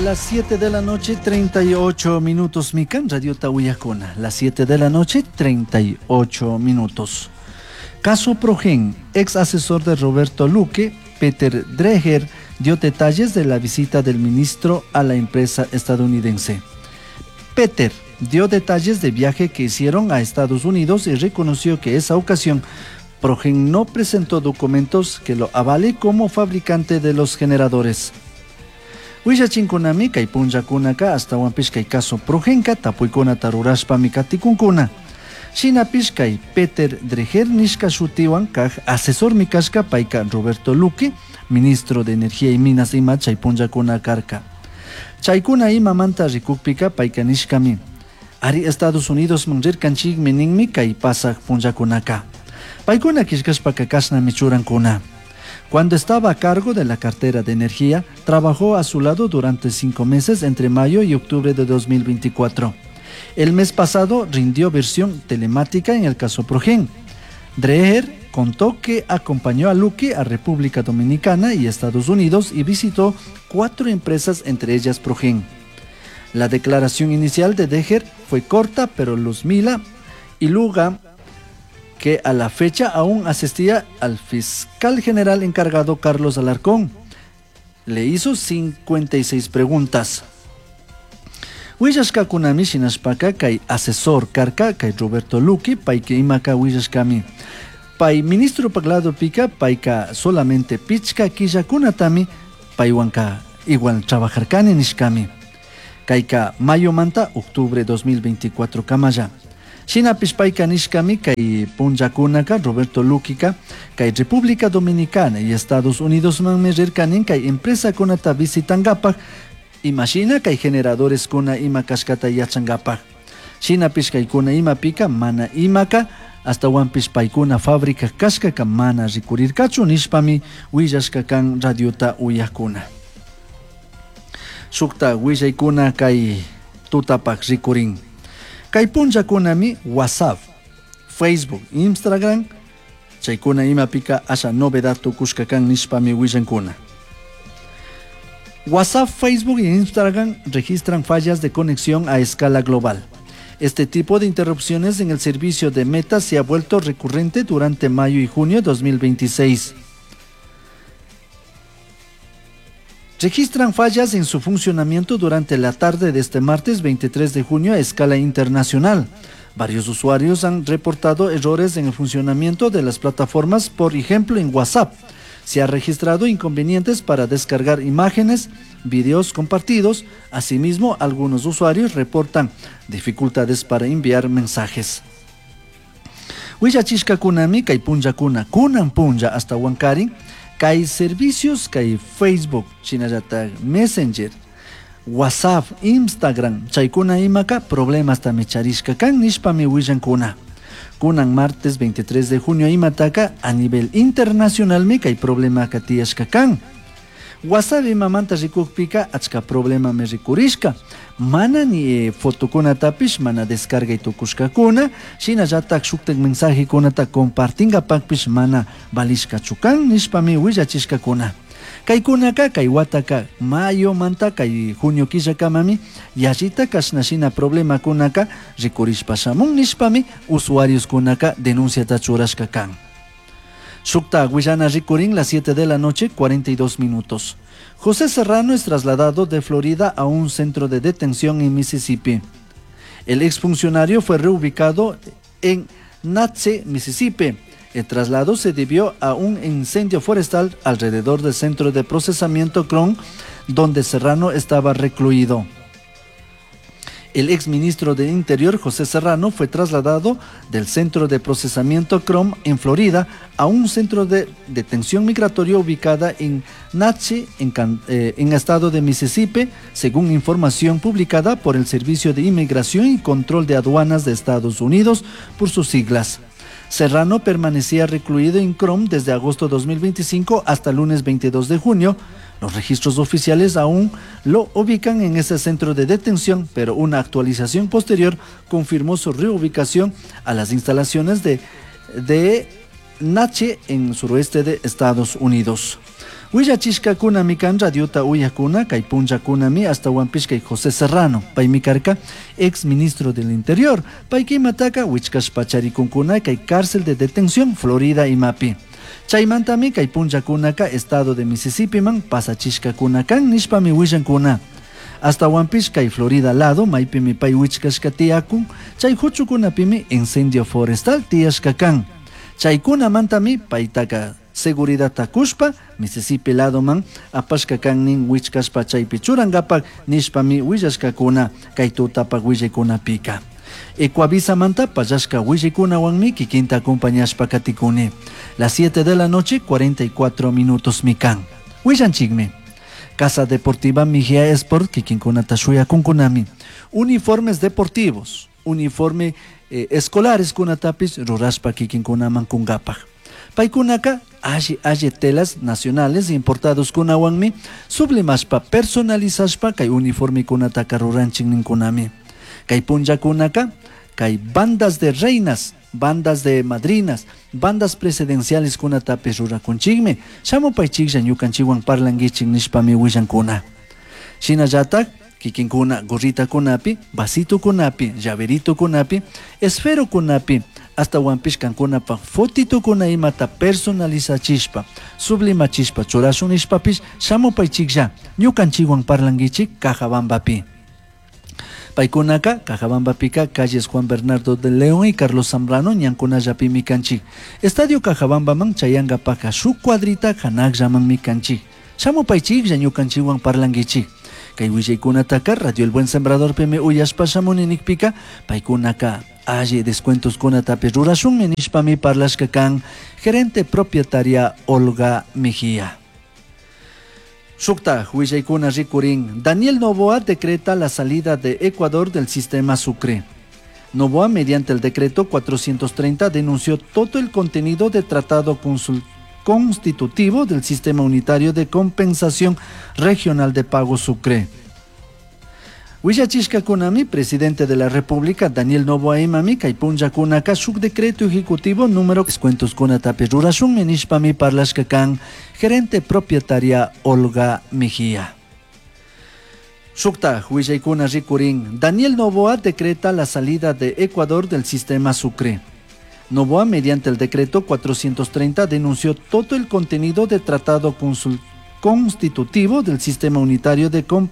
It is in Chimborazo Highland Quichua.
Las 7 de la noche, 38 minutos, Mikan Radio Tahuiacona. Las 7 de la noche, 38 minutos. Caso Progen, ex asesor de Roberto Luque, Peter Dreher, dio detalles de la visita del ministro a la empresa estadounidense. Peter dio detalles de viaje que hicieron a Estados Unidos y reconoció que esa ocasión Progen no presentó documentos que lo avale como fabricante de los generadores. Willachinkunami kay punllakunaka ashtawanpish kay caso Progenka tapuykunata rurashpami katikunkuna. Shinapish kay Peter Dreher nishka shutiwan kaj asesormi kashka payka Roberto Luque, ministro de Energía y Minas ima chay punllakuna karka. Chaykuna imamanta rikukpika payka nishkami. Ari Estados Unidos man rirkanchikmi ninmi kay pasaj punllakunaka. Paykuna killkashpaka kashnami churankuna. Cuando estaba a cargo de la cartera de energía, trabajó a su lado durante 5 meses entre mayo y octubre de 2024. El mes pasado rindió versión telemática en el caso Progen. Dreher contó que acompañó a Luque a República Dominicana y Estados Unidos y visitó 4 empresas, entre ellas Progen. La declaración inicial de Dreher fue corta, pero Luzmila y Luga, que a la fecha aún asistía al fiscal general encargado Carlos Alarcón, le hizo 56 preguntas. Willashkakunami shinashpaka kay asesor karka kay Roberto Luque payka imaka willashkami. Pay ministro paglado pika payka solamente pichka killakunatami paywanka igual trabajarkani nishkami. Kayka mayo manta octubre 2024 kamalla. Shinapish payka nishkami kay punllakunaka Roberto Luquika kay República Dominicana y Estados Unidos manmi rirkanin kay empresa kunata visitangapak imashina kay generadores kuna ima kashkata yachangapak. Shinapish kaykuna imapika mana imaka ashtawanpish paykuna fábrica kashkaka mana rikurirkachu nishpami willashka kan radiota uyakuna. Shukta willaykuna kay tutapak rikurin. Kay punllakunami WhatsApp, Facebook, Instagram, chaykuna imapika asha novedad tukushka kan nishpami willankuna. WhatsApp, Facebook e Instagram registran fallas de conexión a escala global. Este tipo de interrupciones en el servicio de Meta se ha vuelto recurrente durante mayo y junio de 2026. Registran fallas en su funcionamiento durante la tarde de este martes 23 de junio a escala internacional. Varios usuarios han reportado errores en el funcionamiento de las plataformas, por ejemplo en WhatsApp. Se ha registrado inconvenientes para descargar imágenes, videos compartidos. Asimismo, algunos usuarios reportan dificultades para enviar mensajes. Willachishkakunami kay punllakuna kunan punlla hasta Huancarin, kay servicios kay Facebook, shinallatak Messenger, WhatsApp, Instagram, chaykuna imaka problemas tami charishka kan nishpami willankuna. Kunan martes 23 de junio imataka a nivel internacional mi kay problema ka tiyashka kan. WhatsApp imamanta rikukpika achka problema me rikurishka. Mana ni fotokunatapish mana descarga tukushkakuna, shinallatak shuktak mensajekunata compartingapakpish mana valishkachu kan nishpami willachishkakuna. Kaykunaka kay wataka mayo manta kay junio killakamami yallita kashna shina problemakunaka rikurishpa shamun nishpami usuarioskunaka denunciata churashka kan. Shukta willana rikurin las 7 de la noche, 42 minutos. José Serrano es trasladado de Florida a un centro de detención en Mississippi. El exfuncionario fue reubicado en Natchez, Mississippi. El traslado se debió a un incendio forestal alrededor del centro de procesamiento Krome, donde Serrano estaba recluido. El exministro de Interior, José Serrano, fue trasladado del centro de procesamiento Krome en Florida a un centro de detención migratoria ubicada en Natchez, en estado de Mississippi, según información publicada por el Servicio de Inmigración y Control de Aduanas de Estados Unidos, por sus siglas. Serrano permanecía recluido en Krome desde agosto de 2025 hasta el lunes 22 de junio. Los registros oficiales aún lo ubican en ese centro de detención, pero una actualización posterior confirmó su reubicación a las instalaciones de Natchez en suroeste de Estados Unidos. Willachishkakunami kan radiota uyakuna kay punllakunami ashtawanpish kay José Serrano paymi karka ex ministro del Interior payka imataka wichkashpa charikunkuna kay cárcel de detención Florida imapi. Chaymantami kay punllakunaka estado de Mississippiman pasachishkakuna kan nishpami willankuna. Ashtawanpish kay Florida lado maypimi pay wichkashka tiyakun chay huchukunapimi incendio forestal tiyashka kan. Chaykunamantami paytaka seguridadta kushpa Mississippi ladoman apashka kan nin wichkashpa chaypi churankapak nishpami willashkakuna kay tutapak willaykunapika. Ecuavisamanta pallashka willaykunawanmi kikinta acompañashpa katikuni. Las 7 de la noche, 44 minutos mi kan. Willanchikmi. Casa Deportiva Mejía Sport kikinkunata shuyakunkunami. Uniformes deportivos, uniforme escolares kunatapis rurashpa kikinkunaman kunkapaj. Paykunaka alli alli telas nacionales importados kunawanmi sublimashpa personalizashpa kay uniformekunataka ruranchik ninkunami. Kay punllakunaka kay bandas de reinas, bandas de madrinas, bandas presidenciales kunatapis rurakunchikmi. Shamupaychiklla ñukanchikwan parlankichik nishpami willankuna. Shinallatak kikinkuna gorritakunapi, vasitokunapi, llaveritokunapi, esferokunapi, ashtawanpish kankunapaj fotitokuna imata personalizachishpa, sublimachishpa churashun nishpapish shamupaychiklla ñukanchikwan parlankichik Cajabambapi. Paykunaka Cajabambapika calles Juan Bernardo de León y Carlos Zambrano ñankunallapimi kanchik. Estadio Cajabambaman chayankapaka shuk cuadrita hanakllamanmi kanchik. Shamupaychiklla ñukanchikwan parlankichik. Kay willaykunataka Radio El Buen Sembradorpimi uyashpa shamuni nikpika paykunaka alli descuentos kunatapi rurashunmi nishpami parlashka kan gerente propietaria Olga Mejía. Shukta willaykuna rikurin Daniel Noboa decreta la salida de Ecuador del sistema Sucre. Noboa, mediante el decreto 430, denunció todo el contenido del tratado constitutivo del Sistema Unitario de Compensación Regional de Pago Sucre. Willachishkakunami, presidente de la República, Daniel Noboa imami, kay punllakunaka shuk decreto ejecutivo número descuentos kunatapi rurashunmi nishpami parlashka kan gerente propietaria Olga Mejía. Shukta willaykuna rikurin Daniel Noboa decreta la salida de Ecuador del sistema Sucre. Noboa, mediante el decreto 430, denunció todo el contenido del tratado constitutivo del Sistema Unitario de Compensación.